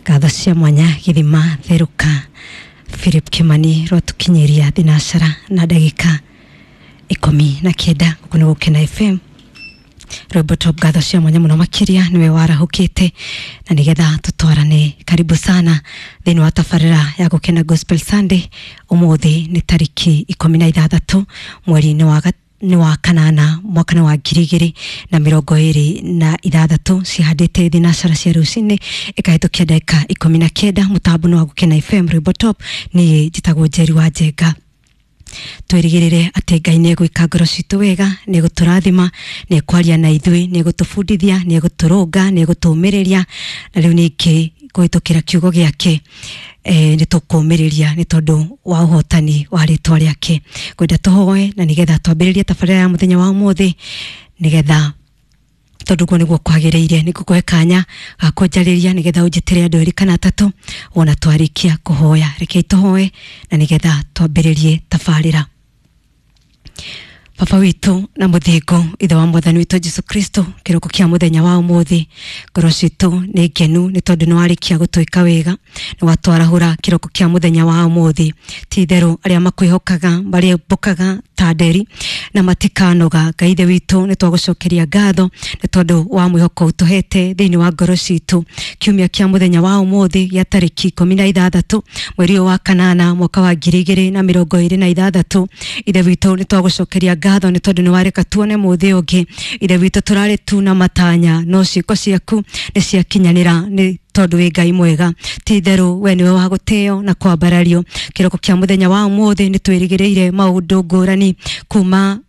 Ngatho cia mwanya githima theruka Philip Kimani rwatukinyiria thinacara na ndagika 19 guku ni Gukena FM. Rwimbo top ngatho cia mwanya muno makiria niwe warahukite na nigetha tutwarane. Karibu sana thiini wa tabarira ya Gukena Gospel Sunday. Umuthi ni tariki 16 mweri-ini wa kanana mwaka wa 2026 cihandite thinacara cia rucini ikahitukia ndagika 19. Mutambo wa Gukena FM rwimbo top ni njitagwo Njeri wa Njenga. Twirigirire ati Ngai nĩ egwĩka ngoro citũ wega, nĩ egũtũrathima, nĩ ekwaria na ithuĩ, nĩ egũtũbundithia, nĩ egũtũrũnga, nĩ egũtũũmĩrĩria, na rĩu ningĩ kũhĩtũkĩra kiugo gĩake nĩ tũkũũmĩrĩria nĩ tondũ wa ũhotani wa rĩtwa rĩake. Ngwenda tũhoe na nĩgetha twambĩrĩrie tabarĩra ya mũthenya wa ũmũthĩ, nĩgetha tondũ guo nĩguo kwagĩrĩire nĩ ngũkũhe kanya ga kũnjarĩria nĩgetha ũnjĩtĩre andũ erĩ kana atatũ wona twarĩkia kũhoya. Rekei tũhoe na nĩgetha twambĩrĩrie tabarĩra. Baba witũ na mũthingu, ithe wa mwathani witũ Jesu Kristo, kĩroko kĩa mũthenya wa ũmũthĩ ngoro citũ nĩ ngenu nĩ tondũ nĩ warĩkia gũtwĩka wega, nĩ watwarahũra kĩroko kĩa mũthenya wa ũmũthĩ. Ti itherũ arĩa makwĩhokaga marĩmbũkaga ta nderi na matikanoga. Ngai ithe witũ nĩ twagũcokeria ngatho nĩ tondũ wa mwĩhoko ũtũhete thĩinĩ wa ngoro citũ. Kiumia kĩa mũthenya wa ũmũthĩ gĩa tarĩki 16 mweri ũyũ wa kanana mwaka wa 2026, ithe witũ nĩ twagũcokeria ngatho nĩ tondũ nĩ wareka tuone mũthĩ ũngĩ. Ithe witũ tũrarĩ tu na matanya no ciĩko ciaku nĩ ciakinyanĩra nĩ tondũ wĩ Ngai mwega. Ti itherũ we nĩwe wa gũtĩo na kwambarario. Kĩroko kĩa mũthenya wa ũmũthĩ nĩ twĩrĩgĩrĩire maũndũ ngũrani kuma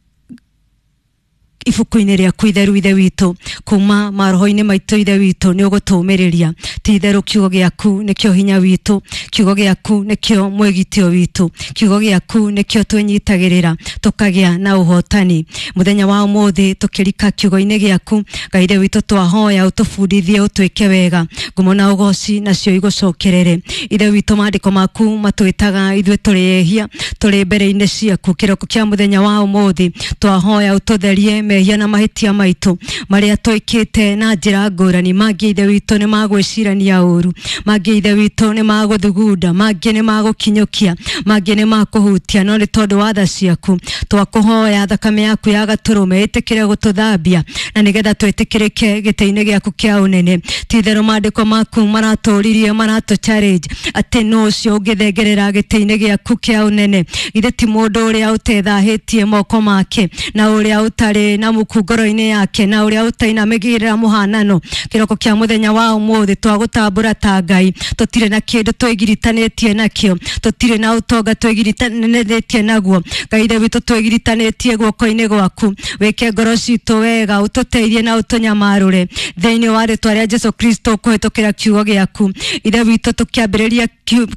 ibuku-inĩ rĩaku itheru ithe witũ, kuma maroho-inĩ maitũ ithe witũ nĩ ũgũtũũmĩrĩria. Ti itherũ kiugo gĩaku nĩkĩo hinya witũ, kiugo gĩaku nĩkĩo mwĩgitio witũ, kiugo gĩaku nĩkĩo twĩnyitagĩrĩra tũkagĩa na ũhotani. Mũthenya wa ũmũthĩ tũkĩrika kiugo-inĩ gĩaku Ngai ithe witũ twahoya ũtũbundithie ũtwĩke wega, ngumo na ũgoci nacio igũcokerere. Ithe witũ maandĩko maku matwĩtaga ithuĩ tũrĩ ehia, tũrĩ mbere-inĩ ciaku. Kĩroko kĩa mũthenya wa ũmũthĩ twahoya ũtũtherie mehia na mahĩtia maitũ marĩa twĩkĩte na njĩra ngũrani. Mangĩ ithe witũ nĩ magwĩcirania ũru, mangĩ ithe witũ nĩ magũthugunda, mangĩ nĩ magũkinyũkia, mangĩ nĩ makũhutia, no nĩ tondũ wa tha ciaku twakũhoya thakame yaku ya gatũrũme ĩtĩkĩre gũtũthambia na nĩgetha twĩtĩkĩrĩke gĩtĩ-inĩ gĩaku kĩa ũnene. Ti itherũ maandĩko maku maratũririe, maratũ challenge atĩ nũ ũcio ũngĩthengerera gĩtĩ-inĩ gĩaku kĩa ũnene. Githĩ ti mũndũ ũrĩa ũtethahĩtie moko make na ũrĩa ũtarĩ na muku ngoro-inĩ yake na ũrĩa ũtainamĩgĩrĩra mũhanano. Kĩroko kĩa mũthenya wa ũmũthĩ twagũtambũra ta Ngai, tũtirĩ na kĩndũ twĩgiritanĩtie nakĩo, tũtirĩ na ũtonga twĩgiritanĩtie naguo. Ngai ithe witũ twĩgiritanĩtie guoko-inĩ gwaku, wĩke ngoro citũ wega, ũtũteithie na ũtũnyamarũre thĩinĩ wa rĩtwa rĩa Jesu Kristo kũhĩtũkĩra kiugo gĩaku. Ithe witũ tũkĩambĩrĩria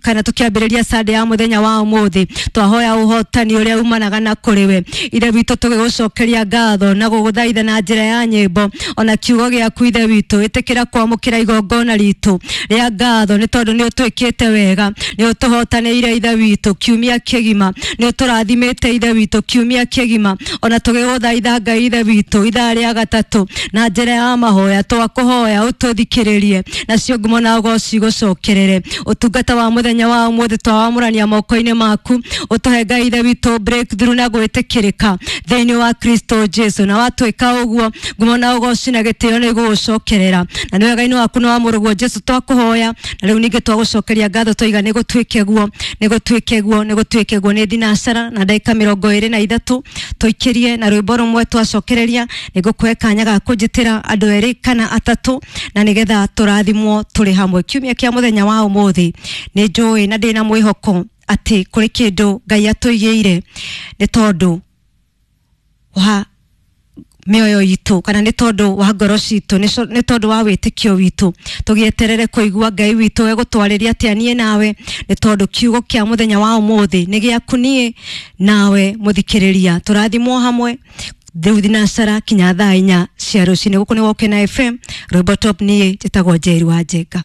kana tũkĩambĩrĩria Sunday ya mũthenya wa ũmũthĩ twahoya ũhotani ũrĩa umanaga na kũrĩ we. Ithe witũ tũgĩgũcokeria ngatho na gũgũthaitha na njĩra ya nyĩmbo ona kiugo gĩaku ithe witũ. Ĩtĩkĩra kwamũkĩra igongona ritũ rĩa ngatho nĩ tondũ nĩ ũtwĩkĩte wega, nĩ ũtũhotanĩire ithe witũ kiumia kĩgima, nĩ ũtũrathimĩte ithe witũ kiumia kĩgima, ona tũgĩgũthaitha Ngai ithe witũ ithaa rĩa gatatũ na njĩra ya mahoya twakũhoya ũtũthikĩrĩrie nacio ngumo na ũgoci gũcokerere. Ũtungata wa mũthenya wa ũmũthĩ twawamũrania moko-inĩ maku, ũtũhe Ngai ithe witũ breakthrough na gwĩtĩkĩrĩka thĩinĩ wa Kristo Jesu, na watwĩka ũguo ngumo na ũgoci na gĩtĩo nĩ igũgũcokerera. Na nĩ wega-inĩ waku na wa mũrũguo Jesu twakũhoya, na rĩu ningĩ twagũcokeria ngatho twaiga nĩ gũtuĩke guo, nĩ gũtuĩke guo, nĩ gũtuĩke guo. Nĩ thinacara na ndagĩka 23 tũikĩrie na rwĩmbo rũmwe twacokereria. Nĩ ngũkũhe kanya ga kũnjĩtĩra andũ erĩ kana atatũ na nĩgetha tũrathimwo tũrĩ hamwe. Kiumia kĩa mũthenya wa ũmũthĩ nĩ njũĩ na ndĩna mwĩhoko atĩ kũrĩ kĩndũ Ngai atũigĩire nĩ tondũ wa mĩoyo itũ kana nĩ tondũ wa ngoro citũ, nĩ tondũ wa wĩtĩkio witũ. Tũgĩeterere kũigua Ngai witũ egũtwarĩria atĩa niĩ nawe, nĩ tondũ kiugo kĩa mũthenya wa ũmũthĩ nĩ gĩaku niĩ nawe mũthikĩrĩria. Tũrathimwo hamwe rĩu thinacara kinya thaa 4 cia rũcinĩ. Gũkũ nĩ Gũkena FM, rwĩmbo top, niĩ njĩtagwo Njeri wa Njenga.